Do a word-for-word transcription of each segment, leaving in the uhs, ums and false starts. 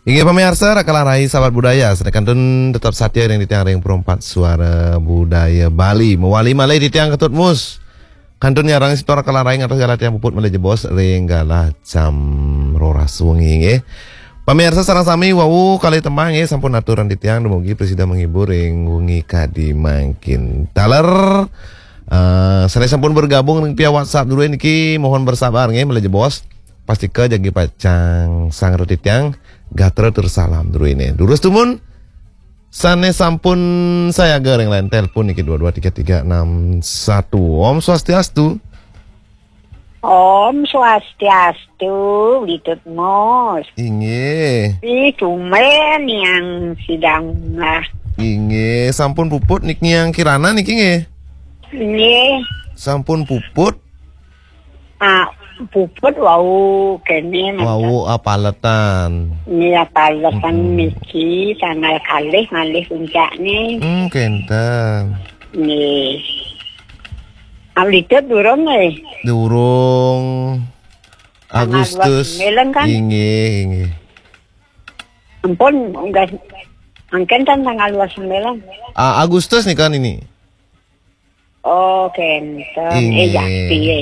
Inggih pamiarsa, Raka Larai sahabat budaya, sané kantun tetep satia ring titiang ring Perempat Suara Budaya Bali. Mawali malih titiang Ketut Mus. Kantun nyarengin semeton Raka Larai ngantos galah titiang puput malih jebos ring galah jam roras wengi nggih. Pamiarsa sareng sami wau kalih tembang nggih sampun aturang titiang dumugi prasida menghibur ring wengi kadi mangkin. Taler eh, sané sampun bergabung ring via WhatsApp dulu niki mohon bersabar nggih malih jebos. Pastika jagi pacang sanggra titiang gatra tur salam druene. Durus dumun sané sampun sayaga ring line telepon niki dua dua tiga tiga enam satu. Om Swastiastu. Om Swastiastu, Witut Mus. Inggih. Ih, tumben yang sidang lah. Inggih, sampun puput niki yang kirana niki nggih. Nggih. Sampun puput. Ah, puput wau kene mantap. Wau apaletan. Nggih, apaletan Mm-mm. niki tanggal kalih malih puncakne. Hmm, kenten. Nggih. Awlitud durung nggih. Durung. Tanggal Agustus. dua puluh sembilan kan? Inggih, inggih. Ampun, enggak. Mangkin kan tanggal dua puluh sembilan. Ah, Agustus nih kan ini. Oh, kenten. Eh, ya, Inggih. piye?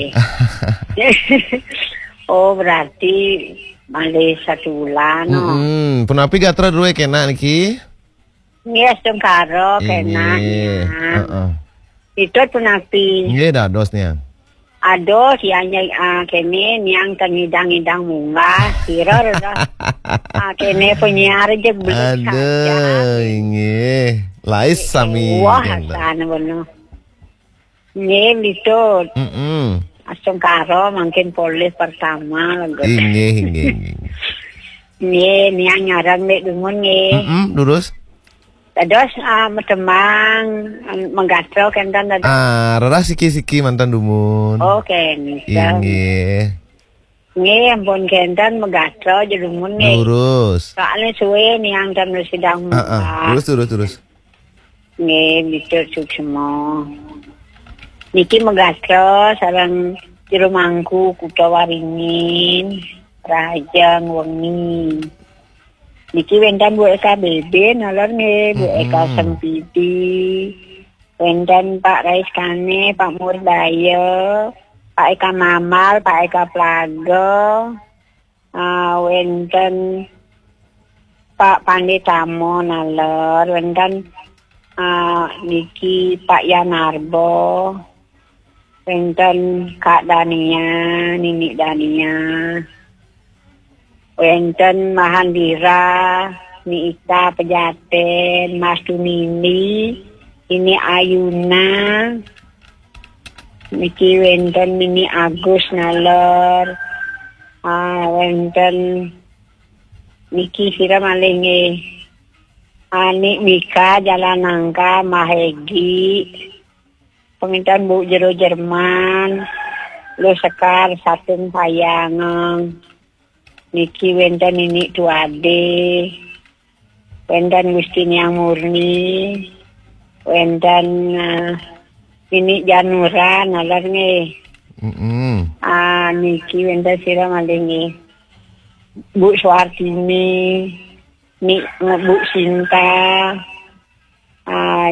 Oh, berarti malih satu bulan, oh. Mm-mm. Punapi gatra druwe kena niki? Nggih, astungkara kena Inggih. ya. Heeh. Itu punapi. Nggih, dados nih. Aduh, siangnya ah, kene niang tengidang-idang munggah, kira dah. Ah, kene penyiar aja belum Aduh, inggih. Lais sami Wah, kenten. Sana bener. Nggih, Witut. Mm-mm. Astungkara mangkin polih pertama lho. Inggih, inggih, inggih. Nggih, niang nyarang mek dumun nggih. Mm-mm, durus. Dados ah, medemang, ah, menggatro kenten dados. Ah, rerah siki-siki mantan dumun. Oh, kenten. Inggih. Nggih, ampun kenten menggatro aja dumun nggih. Durus. Soalnya suwe niang dan sidang Heeh, muka. Durus, durus, durus. Nggih, Witut suksma. Niki megastra sareng jero mangku Kutha Waringin, Rahajeng Wengi. Niki wénten Bu Eka B B, nalor nggih, Bu Eka Mm-mm. Sempidi. Wénten Pak Raiskane, Pak Murdaya, Pak Eka Mamal, Pak Eka Plaga. Ah, wénten Pak Panditamo nalor, wénten, ah, niki Pak Yanarbo, wénten Kak Dania, Nini Dania, wénten Mahandira, Ni Ika Pejaten, Mas Tunini, Ini Ayuna, niki wénten Nini Agus nalor, ah, wénten niki sira malih nggih. Ani Mika, Jalan Nangka, Mahegi, penginten Bu Jero Jerman, Lu Sekar, Satung Payangeng. Niki wénten Nini Tuade, wénten Gusti Niang Murni, wénten, eh, Nini Janura, nalor nggih. Mm-mm. Ah, niki wénten sira malih nggih. Bu Suartini, Ni, Bu Sinta, ah,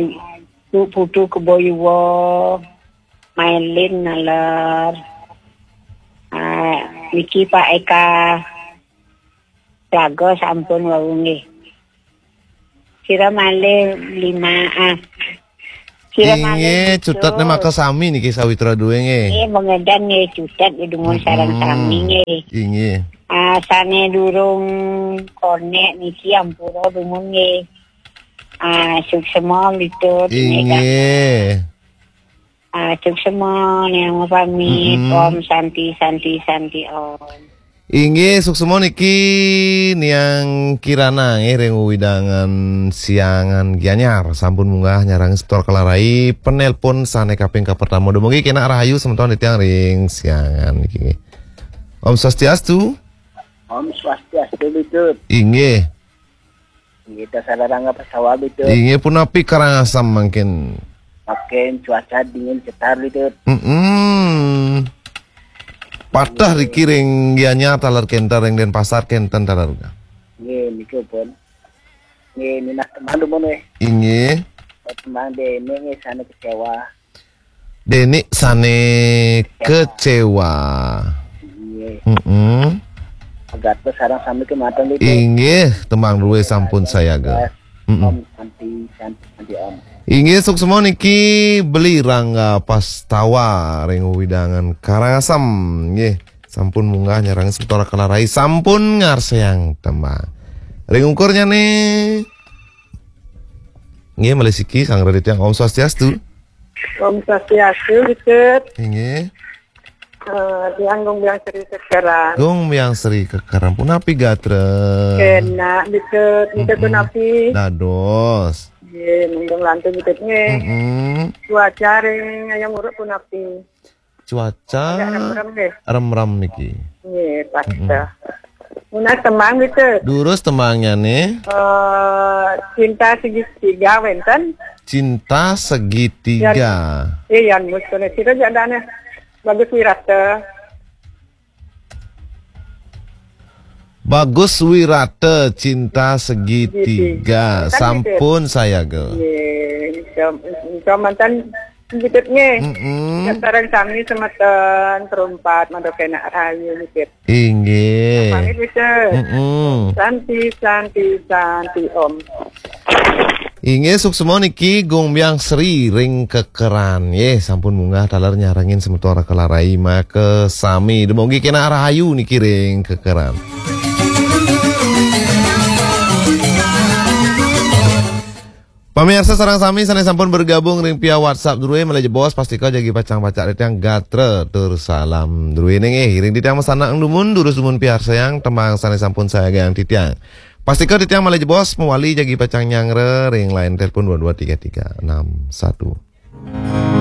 Bu Putu Keboyuwa, Mailin nalor. Ah, niki Pak Eka Plaga sampun wau nggih. Sira malih lima, ah. Sira malih Inggih, gitu. Cutetné maka sami niki sawitra duwe nggih. Nggih, mengedan nggih cutet ya dumun sareng Mm-mm. sami nggih. Inggih. Ah, sane durung konek niki ampura dumun nggih. Ah, suksema gitu. Inggih. Ah, suksema, niang pamit. Mm-mm. Om Santi, Santi, Santi, Om. Inggih, suksema niki niang Kirana nggih ring wewidangan Siangan Gianyar. Sampun munggah nyarang semeton Raka Larai, penelpon sane kaping kapertama. Dumugi kenak rahayu semeton titiang ring Siangan niki nggih. Om Swastiastu. Om Swastiastu, Bitut. Inggih. Kita sadarang apa sawah, Bitut? Inggih punapi Karangasem mangkin. Makin cuaca dingin cetar, Bitut. Mm-mm. Patah riki ring Gianyar taler kenten, ring Denpasar kenten taler. Nggih, niku pun. Nggih, minat tembang dumun nggih. Inggih. Tembang Deni nggih sané kecewa. Deni sané kecewa. Nggih. Heeh. Agatha sareng sami kemanten niku. Inggih, tembang drué sampun sayaga. Heeh. Om Santi, Santi, Santi Om. Inggih, suksma niki Beli Rangga Pastawa ring wewidangan Karangasem. Nggih, sampun munggah nyarengin semeton Kelarai, sampun ngarseang tembang. Ring ungkurnyane. Nggih, malih siki sang Raditya, Om Swastiastu. Om Swastiastu, Butut. Inggih. Eh, tiang Gung Biang Sri Kekeran. Gung Biang Sri Kekeran. Punapi gatra? Kenak, Butut. Butut Mm-mm. Punapi? Dados. Nggih, mendung lantung Butut nggih. Mm-mm. Cuaca ring Hayam Wuruk punapi? Cuaca agak remrem nggih. Remrem niki. Nggih, pas Mm-mm. dah. Nunas tembang Butut. Durus tembangnyane. Eh, Cinta Segitiga wenten. Cinta Segitiga. Yan, eh, Yan Mus kene sira jak dane. Bagus Wirata. Bagus Wirata, Cinta Segitiga. Segitiga. Kan gitu. Sampun sayaga. Nggih, Butut nggih. Mm-mm. Sareng sami semeton Perumpat Mandok Enak Rahayu nggih. Inggih. Pamit, Butut. Mm-mm. Santi, Santi, Santi, Om. Inggih, suksma niki Gung Biang Sri ring Kekeran. Nggih, sampun munggah taler nyarengin semeton Kelarai makasami. Dumugi kenak rahayu niki ring Kekeran. Pamirsa sareng sami sane sampun bergabung ring via WhatsApp druwe, malih jebos pastika jagi pacang pacang titiang gatra tur salam druwe nggih. Ring titiang masanak dumun, durus dumun piarsayang tembang sane sampun sayagang titiang. Pastika titiang malih jebos mawali jagi pacang nyanggra ring line telepon dua dua tiga tiga enam satu.